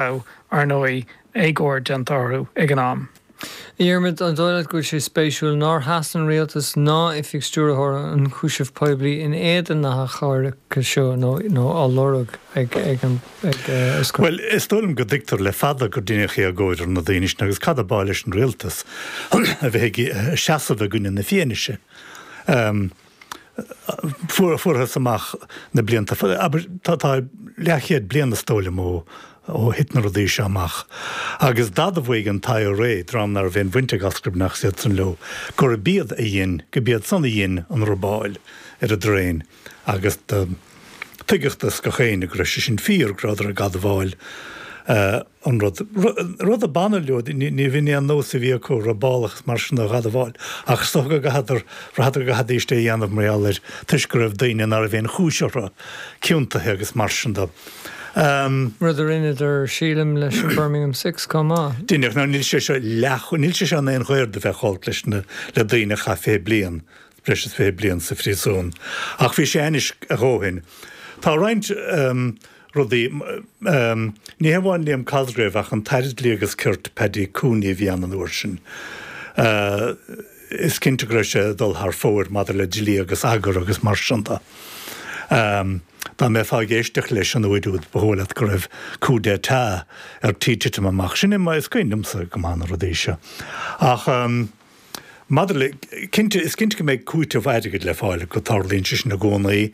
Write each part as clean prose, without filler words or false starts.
Raibh, ar ndóigh, éagóir déanta orthu ag an am. A Dhiarmaid, an dóigh leat go bhfuil sé spéisiúil nár sheas an rialtas ná Oifig Stiúrthóir an Ionchúisimh Poiblí in éadan na hachomhairce seo nó á lorg ag an Oscar? Bhuel, is dóigh liom go dtuigtear le fada gur deineadh éagóir ar na daoine sin agus cad ab áil leis an rialtas a bheith ag seasamh i gcoinne na fianaise? Fuarthas amach na blianta, abair, tá leathchéad bliain is dóigh liom ó ó thit na rudaí seo amach. Agus d'admhaigh an t-IRA, dream ná raibh aon bhaint ag Oscar Breathnach is iad san leo, gurb iad a dhein, gurb iad san a dhein an robáil ar an dtraein agus do tuigeadh do gach éinne go raibh sé sin fíor, go rabhadar ag admháil an rud. Rud a b'annamh leo, ní bh'in é an nós a bhí acu, robálacha is mar sin a admháil, ach is dócha go gcaitheadar, bhraitheadar go gcaithfidís é a dhéanamh mar gheall air, toisc go raibh daoine ná raibh aon chúis orthu ciontaithe agus mar sin de. Rud a rinneadar, sílim, leis an Birmingham Six chomh maith. Deineadh. Now níl sé seo leath, níl sé seo in aon ghair do bheith ag gabháilt leis na, le daoine a chaith 20 bliain, breis is 20 bliain sa phríosún. Ach bhí sé ainnis a dhóthain. Tá roinnt rudaí, ní hamháin Liam Cosgrave ach an tAire Dlí agus Cirt, Paddy Cooney a bhí ann an uair sin. Is cinnte go raibh sé ag dul thar fóir maidir le dlí agus eagar agus mar sin de. Dá mbeifeá ag éisteacht leis an uair úd ba dhóigh leat go raibh coup d'état ar tí titim amach. Sin é mar is cuimhin liomsa go maith na rudaí seo. Ach maidir le, cinnte, is cinnte go mbeidh cúiteamh airgid le fáil, go dtarlaíonn sé sin i gcónaí.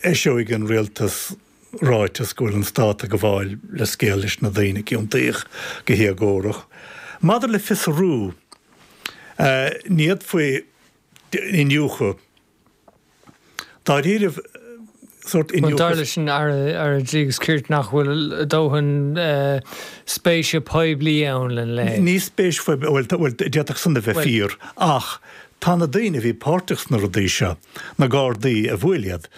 Eiseoidh an rialtas ráiteas go bhfuil an stát ag gabháil leithscéal leis na daoine a ciontaíodh go héagórach. Maidir le fiosrú, ní fhéadfaí iniúchadh dáiríribh, sórt iniúchadh. Dar leis an Aire Dlí agus Cirt nach bhfuil dóthain spéise poiblí ann lena leithéid. Ní spéis phoiblí, bhuel, d'fhéadfadh san a bheith fíor, ach tá na daoine a bhí páirteach sna rudaí seo, na Gardaí a bhuail iad,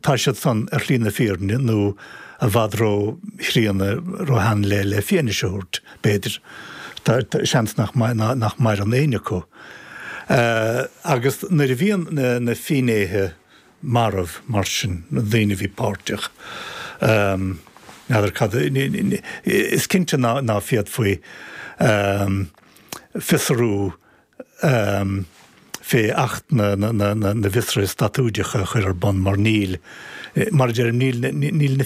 tá siad san ar shlí na fírinne nó i bhfad ró-chríonna, ró-shean le le fianaise a thabhairt, b'fhéidir. Tá seans nach nach maireann éinne acu. Agus nuair a bhíonn na na finnéithe marbh mar sin, na daoine a bhí páirteach, n'fheadar cad, is cinnte ná ná féadfaí fiosrú fé Acht na bhFiosruithe Statúideacha a chur ar bun mar níl, mar a deirim, níl níl na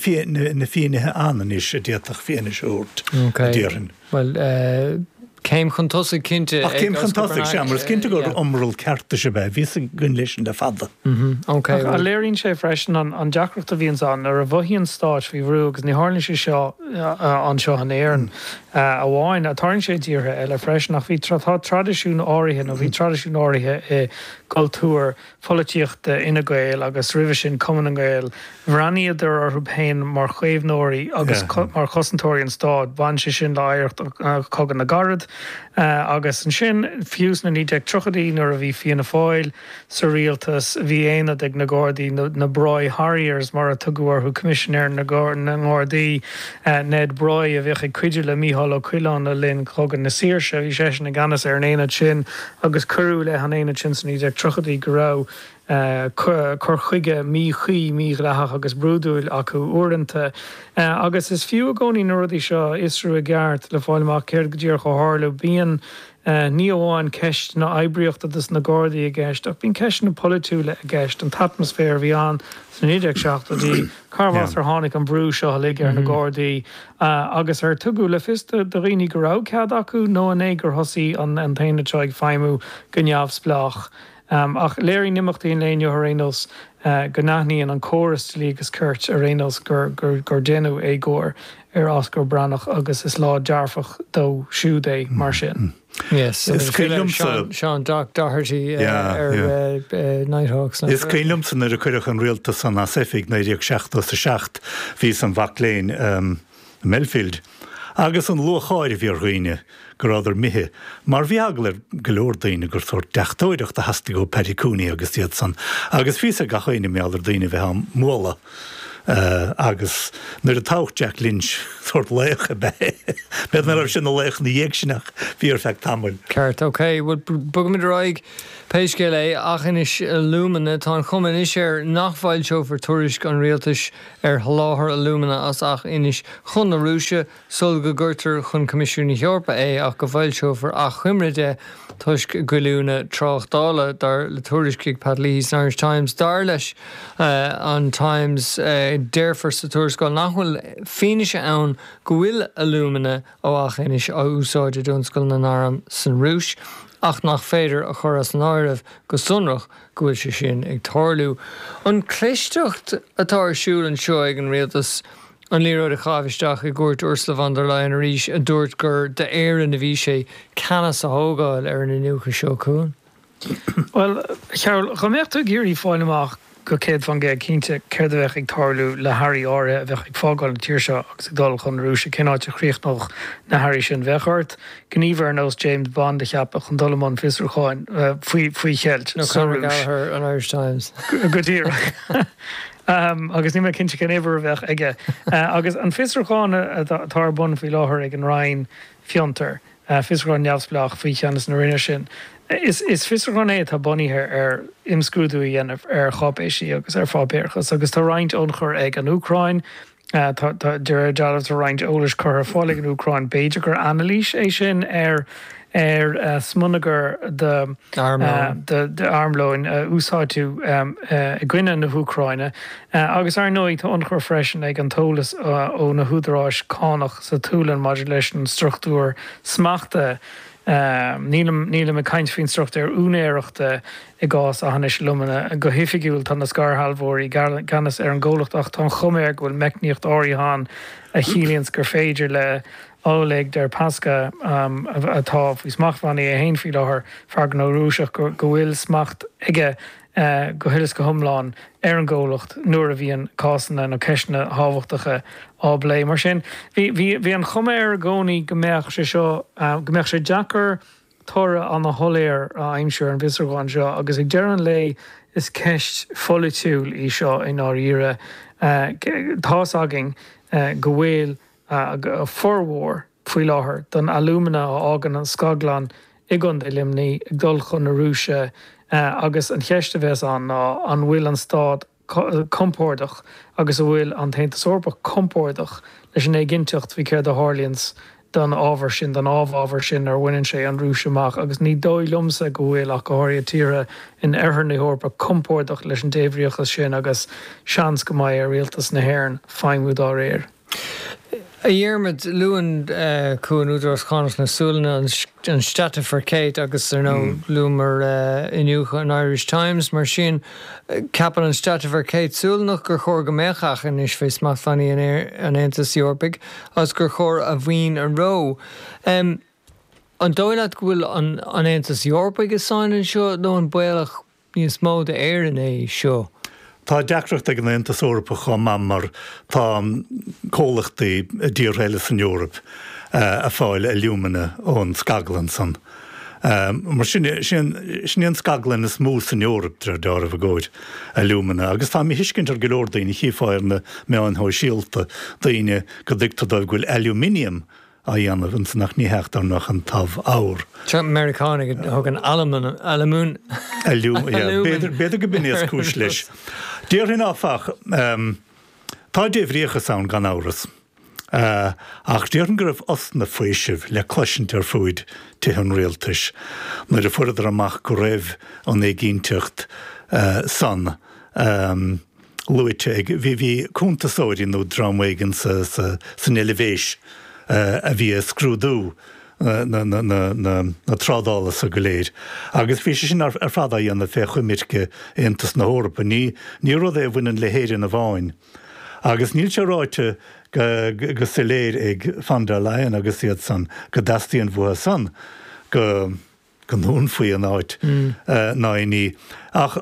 finnéithe ann anois a d'fhéadfadh fianaise a thabhairt, a déarfainn. Bhuel, céim chun tosaigh cinnte ag Ach céim chun tosaigh, sea, mar is cinnte gur iomrall ceartais ab ea, bhíothas ag goil leis sin le fada. Ach léiríonn sé freisin an deacracht a bhíonns ann nuair a mhothaíonn stáit faoi bhrú, agus ní tharlaíonn sé seo anseo in Éirinn, amháin. Tarlaíonn sé i dtíortha eile freisin, ach bhí, tá traidisiún áirithe, nó bhí traidisiún áirithe i gcultúr pholaitíochta Fhine Gael agus roimhe sin Cumann na nGael, bhreathnaíodar orthu féin mar chaomhnóirí agus mar chosantóirí an stáit. Bhain sé sin le hoidhreacht Chogadh na gCarad agus ansin, fiú sna 1930idí nuair a bhí Fianna Fáil, Sa rialtas, bhí aonad ag na Gardaí, na Broy Harriers mar a tugadh orthu, Coimisinéir na nGardaí, Ned Broy, a bhíodh ag cuidiú le Mícheál Ó Coileáin le linn Chogadh na Saoirse. Bhí seisean i gceannas ar an aonad sin agus cuireadh i leith an aonaid sin sna 1930idí go raibh cur chuige míchuí, mídhleathach agus brúidiúil acu uaireanta. Agus is fiú i gcónaí na rudaí seo a fhiosrú i gceart le fáil amach céard go díreach a tharla. Bíonn. Ní amháin ceisteanna oibríochta dos na Gardaí i gceist, ach bíonn ceisteanna polaitiúla i gceist, an t-atmaisféar a bhí ann sna 1970idí, cárbh as ar tháinig an brú seo uilig ar na Gardaí, agus ar tugadh le fios do dhaoine go raibh cead acu nó an é gur thosaigh an t-aonad seo ag feidhmiú go neamhspleách. Ach léiríonn imeachtaí an lae inniu ar aon nós go n-aithníonn an córas dlí agus cirt ar aon nós gur deineadh éagóir ar Oscar Breathnach agus is lá dearfach dó siúd é mar sin. Yes, Is cuimhin liomsa. Seán Doc Doherty ar Nighthawks. Is cuimhin liomsa nuair a cuireadh an rialtas san as oifig, 1977, bhíos im mhac léinn i Belfield, agus an lúcháir a bhí ar dhaoine go rabhadar imithe, mar bhí eagla ar go leor daoine gur sórt deachtóireacht a theastaigh ó Paddy Cooney agus iad san, agus bhí fhios ag gach éinne mar gheall ar daoine a bheith á mbualadh. Agus nuair a toghadh Jack Lynch, sórt laoch ab ea é. B'fhéidir nach raibh sé ina laoch ina dhiaidh sin ach bhí ar feadh tamaill. Ceart, ok. Bhuel, bogfaimid ar aghaidh. Pé scéal é, Aughinish Alumina, tá an chuma anois air nach bhfoilseofar tuairisc an rialtais ar sholáthar alúmana as Aughinish chun na Rúise sul go gcuirtear chun Coimisiún na hEorpa é ach go bhfoilseofar achoimre de toisc goilliúna tráchtála, dar le tuairisc ag Pat Leahy san Irish Times. Dar leis an Times, déarfar sa tuarascáil nach bhfuil fianaise ann go bhfuil alúmana ó Aughinish á úsáid i dtionscal na n-arm san Rúis ach nach féidir a chur as an áireamh go sonrach go bhfuil sé sin ag tarlú. An clisteacht atá ar siúl anseo ag an rialtas an liathróid a chaitheamh isteach i gcúirt Ursula von der Leyen arís a dúirt gur d'Éirinn a bhí sé ceannas a thógáil ar an iniúchadh seo chugainn. Bhuel, a Chearbhaill, dá mbeadh tú ag iarraidh fáil amach go 100% cinnte céard a bheadh ag tarlú le hearraí áirithe a bheadh ag fágáil na tíre seo agus ag dul chun na Rúise, cén áit a chríochnódh na hearraí sin, bheadh ort gníomhaire ar nós James Bond a cheapadh chun dul i mbun fiosrúcháin faoi cheilt sa Rúis. Nó Conor Gallagher an Irish Times. Go díreach. Agus níl mé cinnte cén uimhir a bheadh aige. Agus an fiosrúchán atá ar bun faoi láthair ag an Roinn Fiontar, fiosrúchán neamhspleách faoi cheannas na Roinne sin. Is fiosrúchán é atá bunaithe ar imscrúdú a dhéanamh ar cháipéisí agus ar pháipéarachas agus tá roinnt ionchur ag an Úcráin. Tá, de réir dealraimh, tá roinnt eolais curtha ar fáil ag an Úcráin. B'fhéidir gur anailís é sin ar ar smionagar d'armlóin a úsáideadh i gcoinne na hÚcráine. Agus ar ndóigh tá ionchur freisin ag an t-eolas ó na húdaráis cánach sa tSualainn maidir leis an struchtúr smachta, nílim nílim ag caint faoin struchtúr úinéireachta i gcás Aughinish Alumina. Go hoifigiúil tá na scairshealbhóirí i gceannas ar an gcomhlacht ach tá an chuma air go bhfuil meicníocht áirithe ann a chiallaíonns gur féidir le Oleg Deripaska, atá faoi smachtbhannaí é féin faoi láthair, fear gnó Rúiseach, go bhfuil smacht aige go huile is go hiomlán ar an gcomhlacht nuair a bhíonn cásanna nó ceisteanna tábhachtacha á bplé. Mar sin, bhí, bhí, bhí an chuma air i gcónaí go mbeadh sé seo, go mbeadh sé deacair toradh ana-shoiléir a aimsiú ar an bhfiosrúchán seo agus ag deireadh an lae is ceist pholaitiúil í seo i ndáiríre. Tá's againn go bhfuil formhór faoi láthair den alúmana a fhágann an scaglann i gContae Luimnigh ag dul chun na Rúise agus an cheist a bheas ann ná an bhfuil an stát compordach agus an bhfuil an tAontas Eorpach compordach leis an éiginnteacht faoi céard a tharlaíonns don ábhar sin, don amhábhar sin nuair a bhaineann sé an Rúis amach agus ní dóigh liomsa go bhfuil, ach go háirithe tíortha in oirthear na hEorpa, compordach leis an débhríochas sin agus seans go mbeidh ar rialtas na hÉireann feidhmiú dá réir. A Dhiarmaid, luann Cuan Údarás Cánach na Sualainne an Skatteverket agus ar ndóigh luamar iniúchadh an Irish Times. Mar sin, ceapann an Skatteverket Sualannach gur chóir go mbeadh Aughinish fé smachtbhannaí an Aontais Eorpaigh agus gur chóir a mhaoin a reo. An dóigh leat go bhfuil an Aontas Eorpaigh i sáinn anseo nó an baolach níos mó d'Éirinn é seo. Tá deacracht ag an Aontas Eorpach chomh maith mar tá comhlachtaí i dtíortha eile san Eoraip ag fáil alumina ón scaglann san. Mar sin, sin í an scaglann is mó san Eoraip, de réir dealraimh, i gcomhair alumina. Agus tá míthuiscint ar go leor daoine, chífeá ar na meáin shóisialta daoine go dtuigtear dóibh go bhfuil aluminium á dhéanamh ansan ach ní hea, dar ndóigh an t-amhábhar. Seo Meiriceánaigh a thugann alamun, alamun, yeah, b'fhéidir go b'in é is cúis leis. Déarfainn áfach, tá débhríochas ann gan amhras, ach déarfainn go raibh osna faoisimh le cloisint ar fuaid tithe an rialtais nuair a fuaireadar amach go raibh an éiginnteacht san luaite ag, bhí, bhí cuntasóirí nó dream éigin sa, sa, san Eilvéis a bhí ag scrúdú na, na, na, na, na trádála so go léir agus bhí sé sin ar, ar fad á dhéanamh fé choimirce Aontas na hEorpa. Ní, ní rud é a bhaineann le hÉirinn amháin. Agus níl sé ráite go, go soiléir ag von der Leyen agus iad san go dteastaíonn uathu san go, go ndúnfaí an áit ná aon ní. Ach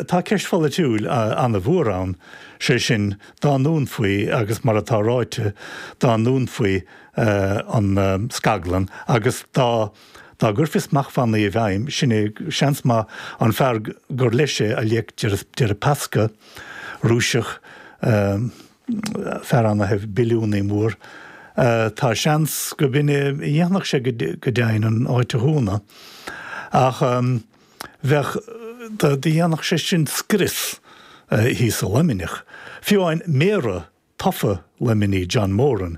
tá ceist pholaitiúil an-mhór ann, sé sin, dá ndúnfaí, agus mar atá ráite, dá ndúnfaí an scaglann agus dá dá gcuirfí smachtbhannaí i bhfeidhm, sin é, seans maith, an fear gur leis é Oleg Deripaska, Rúiseach. Fear ana-shaibhir, billiúnaí mór. Tá seans go b'in é a dhéanfadh sé go deimhin, an áit a dhúnadh. Ach bheadh, do dhéanfadh sé sin scrios thíos i Luimneach. Fiú amháin méara tofa Luimnigh, John Moran.